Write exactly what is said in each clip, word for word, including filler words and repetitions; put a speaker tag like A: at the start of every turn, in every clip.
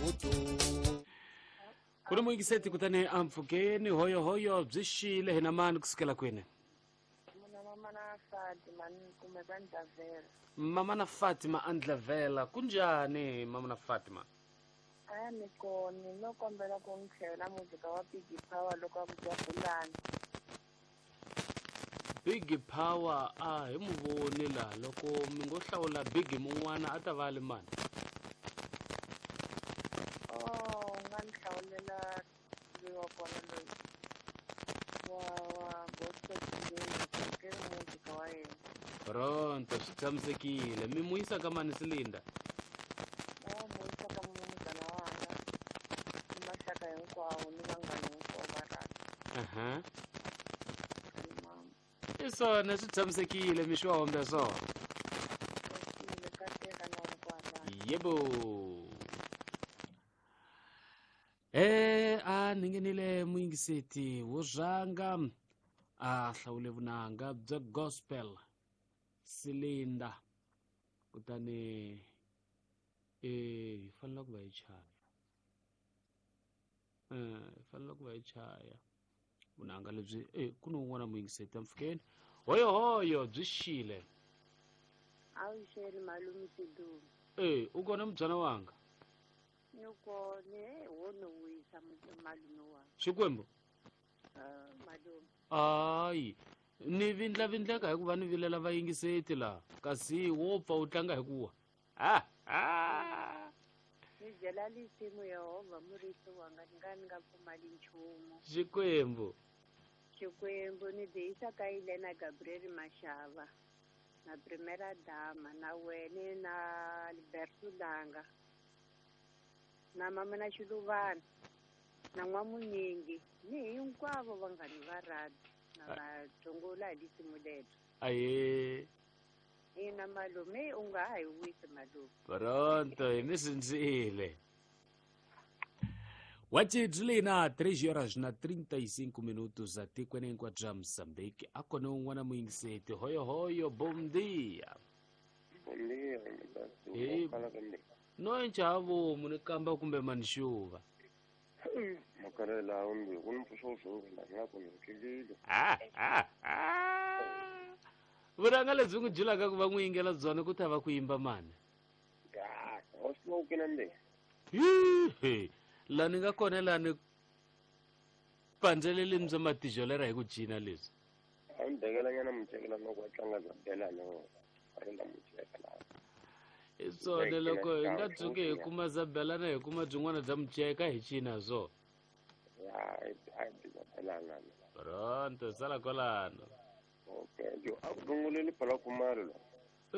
A: vutomi.
B: Ku ni muyingiseti kutani a mpfhukeni hoyohoyo byi xile hina mani kusukela kwini?
C: Mina mama na Fatima ni kumeka Ndlavela.
B: Mama na Fatima a Ndlavela, kunjhani mama na Fatima?
C: A ni kona, no kombela ku ni tlhela muzika wa Big Power loko a ku Jabulani.
B: Big Power a hi mu voni laha, loko mi ngo hlawula Big mun'wana a ta va a li mani?
C: Oh, u nga ni hlawulela loyi wa kona loyi wa wa gospel today, ke muzika wa yena.
B: Pronto, swi tshamisekile. Mi mu yisa ka mani Silinda?
C: Na mu yisa ka munghana wanga, ni maxaka hinkwawo ni vanghana hinkwavo va rhandza.
B: Aha. I swona swi tshamisekile, mixo wa hombe swona.
C: Tshamisekile, kateka na hinkwavo.
B: Yebo. Eh, a ni nghenile muyingiseti wo rhanga a hlawule vunanga bya gospel Silinda, kutani eh hi fanele ku va hi chaya. Eh, hi fanele ku va hi chaya vunanga lebyi. Eh, ku ni un'wana muyingiseti mpfhukeni. Hoyohoyo byi xile.
D: A wu xeli malume Sidumo.
B: Eh, u kona mubyana wanga?
D: Ni kona, wo ni wisa malume wanga.
B: Xikwembu?
D: Ah, malume.
B: Hayi, ni vindlavindleka hikuva ni vilela vayingiseti laha, kasi wo pfa u tlanga hi ku wa. Ah, ah.
D: Ni byela lisimu Yehovha murisi wanga, ni nga ni nga pfumali nchumu.
B: Xikwembu.
D: Xikwembu ni byi yisa ka Elena Gabriel Mashava na Primera Dama na wene na Alberto Langa na mama na Xiluvana na N'wamunyingi ni hinkwavo vanghani va rhabi na vatsongola hi lisimu lero.
B: Aye.
D: Ina malume, u nga ha hi wisi malume.
B: Pronto, hi mi sindzile. Wachidlina três horas na trinta e cinco minutos atikweni hinkwaro bya Mozambique. A kona un'wana muyingiseti. Hoyo hoyo, bom dia.
E: Bom dia,
B: Hey. No nchavo munhu kamba kumbe manixuva.
E: Makarela umbi ku ni mpfuxo wo la ku ni tlilile.
B: Ah ah ah. Vuranga lebyi n'wi byelaka ku va n'wi yingela byona ku ta va ku yimba mani.
E: Ya, o smoke na mbe.
B: Hi. La ni nga kona la ni pandzeleleni bya matijolera hi ku cina leswi.
E: A ni bekela nyana mucekela loko a tlanga bya belana a ri la muceka la.
B: I swona loko hi nga tshuki hi kuma zabelana hi kuma byin'wana bya muceka hi cina swo.
E: Ya, a hi zabelana.
B: Pronto, sala kwalano.
E: Okay, yo a ku runguleli phala Khumalo la.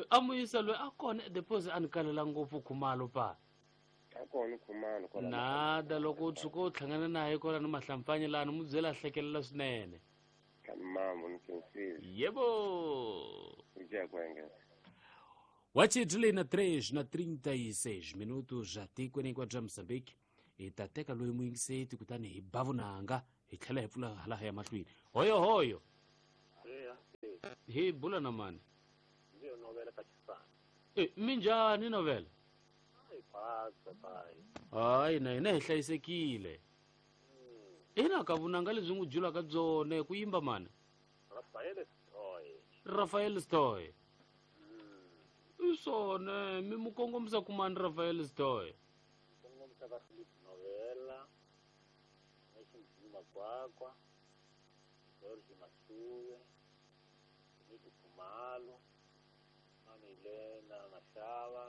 B: A muyisa loyi a kona deposit a ni kalela ngopfu Khumalo pa.
E: A kona Khumalo kwala.
B: Nada loko u tshuka u hlangana naye kwala ni mahlampfanye lani mu byela hlekelela swinene.
E: Mama ni khensile.
B: Yebo.
E: Ngiyakwenga.
B: Wachidlina três na trinta e seis minutos atikweni hinkwaro bya Mozambique. Hi ta teka loyi muyingiseti kutani hi ba vunanga hi tlhela hi pfula hala ya mahlweni. Hoyo hoyo. Hi bula na mani?
F: Ndiyo novela ka Xisana.
B: Eh, minjhani novela?
F: Ai pasa pai.
B: Hayi na hina hi hlayisekile. Ina ka vunanga lebyi n'wi byelaka byona ku yimba mani?
F: Rafael Stoy.
B: Rafael Stoy. I swona mi mu kongomisa ku mani Rafael Stoy?
F: Kongomisa ka Philip Novela, Nation Makwakwa, George Masuwe, Niki Khumalo, Mani Elena Mashava,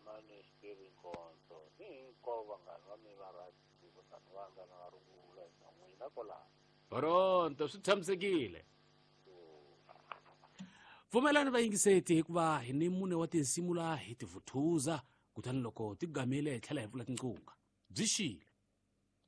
F: Mani Xikwembu Nkonzo, ni hinkwavo vanghana va mina va rhabi vanghana va nga na rungula na n'wina kwalano.
B: Pronto, swi tshamisekile. Pfumelani vayingiseti hikuva hi ni mune wa tinsimu la hi ti vuthuza kutani loko ti gamile hi tlhela hi pfula tinqunga. Byi xile.